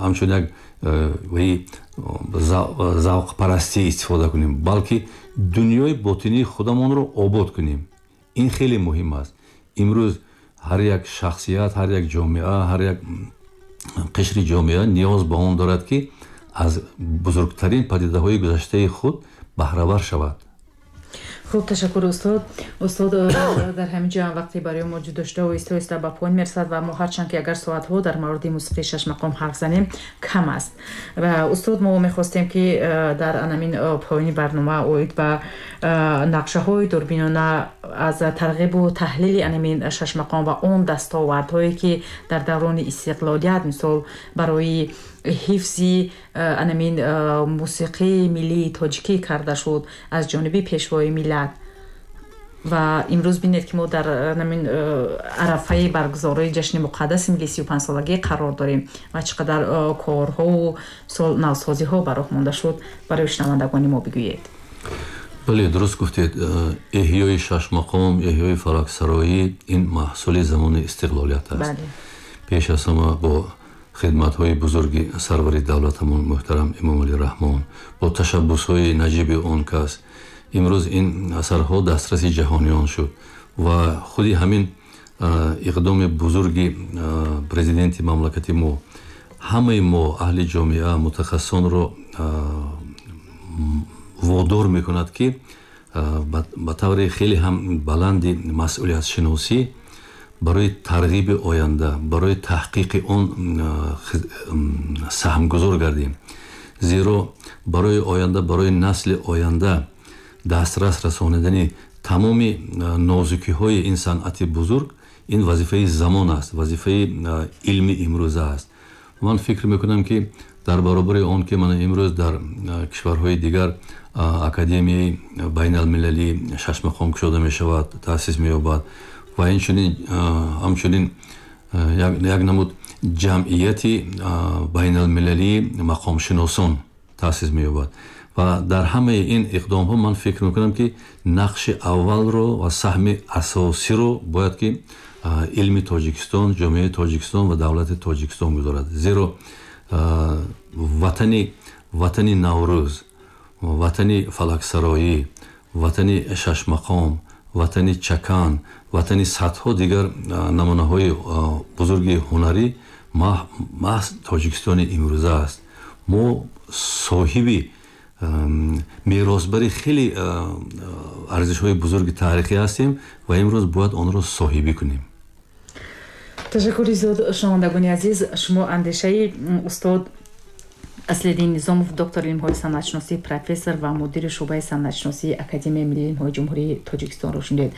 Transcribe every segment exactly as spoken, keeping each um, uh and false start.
Ҳамчун як завқпарастӣ истифода кунем, балки дунёи ботинии худамонро обод кунем. Ин хеле муҳим аст. Имрӯз ҳар як шахсият, ҳар як ҷомеа, ҳар як қишри ҷомеа ниёз ба он дорад, ки аз бузургтарин падидаҳои гузаштаи худ баҳравар шавад. Хуб, ташаккур, устод. Устод, дар ҳамин ҷо вақте барои мо ҷудо шуда оҳиста оҳиста ба поён мерасад ва мо ҳарчанд ки агар соатҳо дар мавриди мусиқии шашмақом ҳарф занем, кам аст. Ва, устод, мо мехостем, ки э, дар анамин э, поёни барнома оид ба э, нақшаҳои дурбинона аз тарғибу таҳлили анамин шашмақом ва он дастовардҳое, ки дар даврони истиқлолият, мисол, барои ҳифзи анамин мусиқии миллии тоҷикӣ карда шуд аз ҷониби Пешвои миллат. Ва имрӯз бинед, ки мо дар намин арафаи баргузории ҷашни муқаддаси миллии сию панҷсолагӣ қарор дорем ва чӣ қадар корҳову мисол навсозиҳо ба роҳ монда шуд, барои шунавандагони мо бигӯед. Бале, дуруст гуфтед. Эҳёи шашмақом, эҳёи фалаксароӣ — ин маҳсули замони истиқлолият аст, пеш аз ҳама бо хидматҳои бузурги сарвари давлатамон муҳтарам Эмомалӣ Раҳмон, бо ташаббусҳои наҷиби он кас имрӯз ин асарҳо дастраси ҷаҳониён шуд. Ва худи ҳамин иқдоми бузурги президенти мамлакати мо ҳамаи мо, аҳли ҷомеа, мутахассисонро водор мекунад, ки ба таври хеле ҳам баланди масъулиятшиносӣ барои тарғиби оянда, барои таҳқиқи он саҳмгузор гардем. Зеро барои оянда, барои насли оянда дастрас расонидани тамоми нозукиҳои ин санъати бузург — ин вазифаи замон аст, вазифаи илми имрӯза аст. Ман фикр мекунам, ки дар баробари он ки мана имрӯз дар кишварҳои дигар Академияи байналмилалии шашмақом кушода мешавад, таъсис меёбад ва инчунин ҳамчунин як намуд ҷамъияти байналмилалии мақомшиносон таъсис меёбад, ва дар ҳамаи ин иқдомҳо ман фикр мекунам, ки нақши аввалро ва саҳми асосиро бояд ки илми Тоҷикистон, ҷомеаи Тоҷикистон ва давлати Тоҷикистон гузорад. Зеро ватани ватани Наврӯз, ватани фалаксароӣ, ватани шашмақом, ватани чакан, ватани садҳо дигар намунаҳои бузурги ҳунарӣ маҳз Тоҷикистони имрӯза аст. Мо соҳиби меросбари хеле арзишҳои бузурги таърихӣ ҳастем ва имрӯз бояд онро соҳибӣ кунем. Ташаккури зиёд. Шунавандагони азиз, шумо андешаи устод Аслиддин Низомов, доктори илмҳои санъатшиносӣ, профессор ва мудири шӯъбаи санъатшиносии Академияи миллии илмҳои Ҷумҳурии Тоҷикистонро шунидед.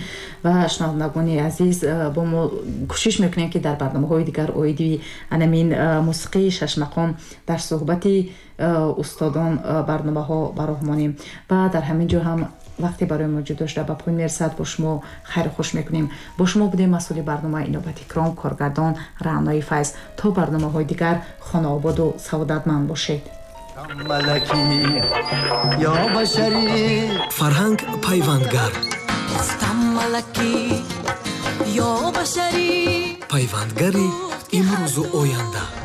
Ва, шунавандагони азиз, бо мо кӯшиш мекунем, ки дар барномаҳои дигар оиди анамин мусиқии шашмақом дар суҳбати устодон барномаҳо ба роҳ монем. Ва дар ҳамин ҷо ҳам вақте барои мо ҷудо шуда ба поён мерасад. Бо шумо хайру хуш мекунем. Бо шумо будем масъули барнома Инобат Икром, коргардон Раънои Файз. То барномаҳои дигар хонаободу саодатманд бошед. Малакӣ ё башарӣ. Фарҳанг пайвандгар. Гуфтам: малакӣ ё башарӣ. Пайвандгари имрӯзу оянда.